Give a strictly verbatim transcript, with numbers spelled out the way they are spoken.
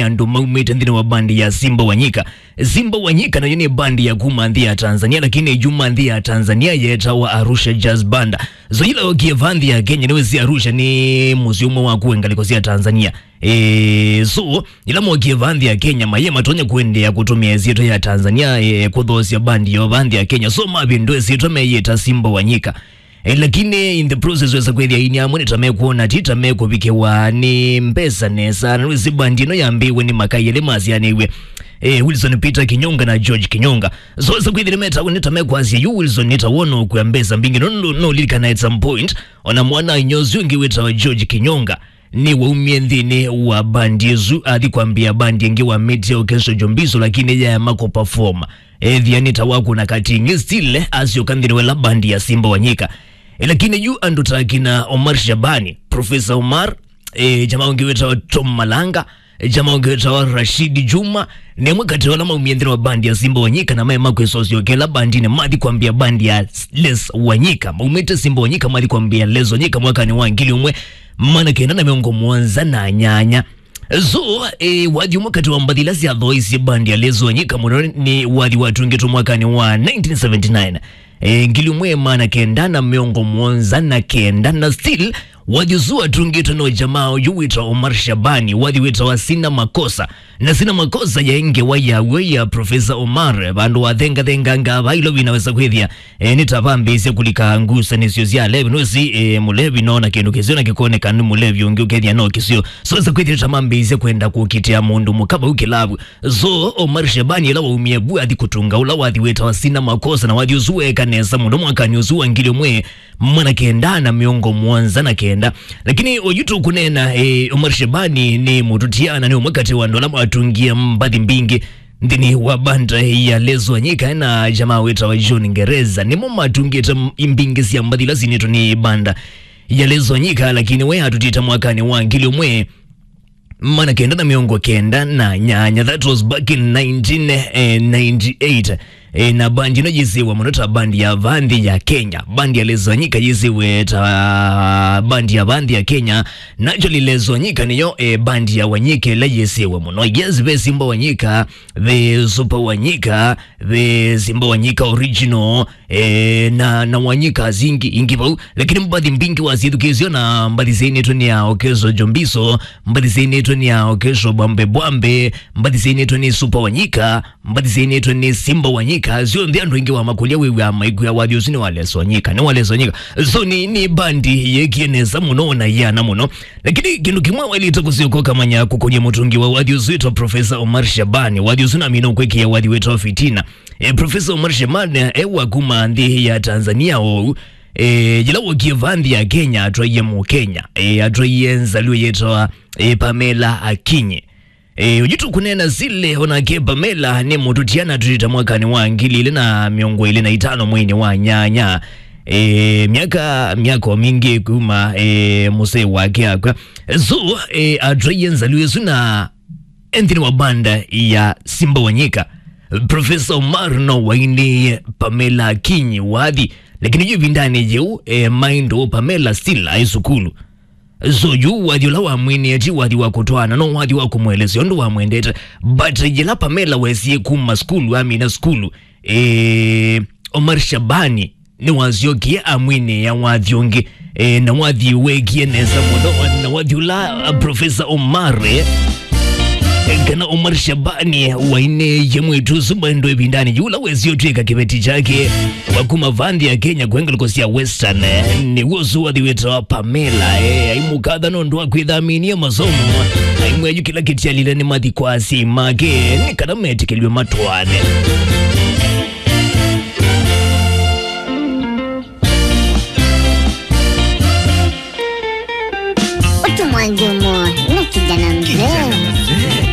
andũ maumĩte nthĩnĩ wa bandi ya Simba wa Nyika. Simba wa Nyika nayo nĩ bandi ya kuma nthĩ ya Tanzania, lakini yuma nthĩ ya Tanzania yetawa Arusha Jazz Band. So yĩla okie va nthĩ ya Kenya, nĩwĩsĩ Arusha nĩ mũsyĩ ũmwe wa kũe ngalĩko sya Tanzania. E, so, ĩla mokie va nthĩ ya Kenya, maye matonya kũendeea kũtũmĩa ĩsyĩtwa ya Tanzania, e, kũthoosya bandi yo va nthĩ ya Kenya. So mavĩndũa ĩsyĩtwa meyĩta Simba wa Nyika. E, lakini in the process wesa kwĩthĩa aini amwe nĩ ta mekwona ti ta mekũvikĩwa nĩ mbesa nesa. Na nĩwĩsĩ bandi ĩno yambĩĩwe nĩ makai elĩ masyaanĩw'e, e, Wilson Peter Kinyonga na George Kinyonga. So wesa kwĩthĩa nĩmetawa nĩ ta mekwasya yu Wilson nĩ ta wona ũkwĩa mbesa mbingĩ. No, no, no lilikana at some point, ona mwana inya ũsu ũngĩ wĩtawa George Kinyonga nĩwaumie nthĩnĩ wa bandi ĩsu athi kwambĩa bandi ĩngĩ wa Media Orchestra Jombiso, lakini yaema kũperform. Ethĩa nĩ ta wakũna katingĩ, still asyoka nthĩnĩ wa ĩla bandi ya Simba wa Nyika. E, lakini yu andũ ta akina Omar Shabani, Professor Omar, e, jamaa ũngĩ wĩtawa Tom Malanga, e, jamaa ũngĩ wĩtawa Rashid Juma, nĩ amwe katĩ wa ala maumie nthĩnĩ wa bandi ya Simba wa Nyika na maema kwĩsosya ũkela bandinĩ mathi kwambĩa bandi ya Les Wanyika. Maumĩte Simba wa Nyika mathi kwambĩa Les Wanyika mwakanĩ wa ngili ũmwe maana kenda na mĩongo mũonza na nyanya. So, e, wathi ũmwe katĩ wa mbathi ila syathoisye bandi ya Les Wanyika mũno nĩ wathi watungĩtwe mwakanĩ wa nineteen seventy-nine. E, ngili ũmwe maana kenda na mĩongo mũonza na kenda, na still wathi ũsu watungĩtwe no jamaa ũyũ wĩtawa Omar Shabani, wathi wĩtawa Sina Makosa. Na Sina Makosa yaĩ ngewa ya w'o ya Professor Omar, vandũ wathengathenganga va ilo vinawesa kwĩthĩa, e, nĩ ta vambĩĩsya kũlika ngusanĩsyo sya alevi. Nũsĩ, e, mũlevi nona kĩndũ kĩseo na kĩkoneka nĩ mũlevi ũngĩ ũkethĩa no kĩseo. So wesa kwĩthĩa nĩ ta mambĩĩsya kwenda kũkitĩa mũndũ mũka vau kĩlavu. So Omar Shabani ĩla waumie vu athi kũtunga ũla wathi wĩtawa Sina Makosa, na wathi ũsu weeka nesa mũno mwakanĩ ũsu wa ngili ũmwe maana kenda na mĩongo mũonza na kenda. Lakini oyu tũkũneena, e, Omar Shabani nĩ mũtũtia na nĩ ũmwe katĩ wa andũ ala matungie mbathi mbingĩ nthĩnĩ wa banda ya Les Wanyika na jamaa wĩtawa John Ngereza. Nĩmo matungĩte m-, mbingĩ sya mbathi ila sinĩtwe nĩ banda ya Les Wanyika, lakini we atũtita mwakanĩ wa ngili ũmwe maana kenda na mĩongo kenda na nyanya. That was back in nineteen ninety-eight. E, na bandi ĩno yĩsĩwe mũno ta bandi ya va nthĩ ya Kenya. Bandi ya Les Wanyika yĩsĩwe ta bandi ya va nthĩ ya Kenya. Naturally Les Wanyika nĩyo, e, bandi ya Wanyika ĩla yĩsĩwe mũno. Yes, ve Simba Wanyika, ve Super Wanyika, ve Simba Wanyika original, e, na, na Wanyika zingi ingi vau. Lakini mbathi mbingĩ wasyĩthukĩĩsyo na mbathi syainĩtwe nĩ ya Okeso Jombiso, mbathi syainĩtwe nĩ ya Okeso Bwambe Bwambe, mbathi syainĩtwe nĩ Super Wanyika, mbathi syainĩtwe nĩ Simba Wanyika, syonthe andũ aingĩ wamakũlya wĩw'aa maikwĩa wathi ũsu nĩ wa Les Wanyika, nĩ wa Les Wanyika. So nĩ, nĩ bandi yeekie nesa mũno na yĩana mũno. Lakini kĩndũ kĩmwe waĩlĩte kũsyoka ũkamanya kũkũny'a mũtungi wa wathi ũsu wĩtwa Professor Omar Shabani. Wathi ũsu namina ũkwĩkĩa wathi wĩtwa Fitina. E, Professor Omar Shabani, e, wa kuma nthĩ ya Tanzania oou. E, yĩla wokie va nthĩ ya Kenya atwaie Mũkenya. E, atwaie nzalio yĩtawa, e, Pamela Akinyi. E, ũyu tũkũneena sile onake Pamela nĩ mũtũtia na tũtita mwakanĩ wa ngili ilĩ na mĩongo ĩlĩ na itano mweinĩ wa nyanya. E, myaka, myaka o mingĩ kuma, e, mũsee wake akw'a. So, e, atwaie nzalio ĩsu na e nthĩnĩ wa banda ya Simba Wanyika. Professor Omar no wainĩie Pamela Akinyi wathi, lakini yu ĩvindanĩ yĩu, e, maindo Pamela still aĩ sukulu. So yu wathi ũla wamwinĩe ti wathi wa kũtwaana, no wathi wa kũmũelesya ũndũ wamwendete. But yĩla Pamela wesie kuma sukulu, amina sukulu, e, Omar Shabani nĩwasyokie amwinĩĩa wathi ũngĩ. E, na wathi weekie nesa mũno, na wathi ũla, a, Professor Omar, e, kana Omar Shabani wainĩie mwĩĩtu ũsu maendo ĩvindanĩ yĩu ũla wesie ũtw'ĩka kĩveti kyake wa kuma va nthĩ ya Kenya kũe ngalĩko sya Western, e, nĩw'o ũsu wathi wĩtawa Pamela, e, aimũkatha nũndũ wa kwĩthaminie masomo, aimwĩa yu kĩla kĩtialile nĩ mathi kwa asyai make nĩ kana metĩkĩlw'e matwaane.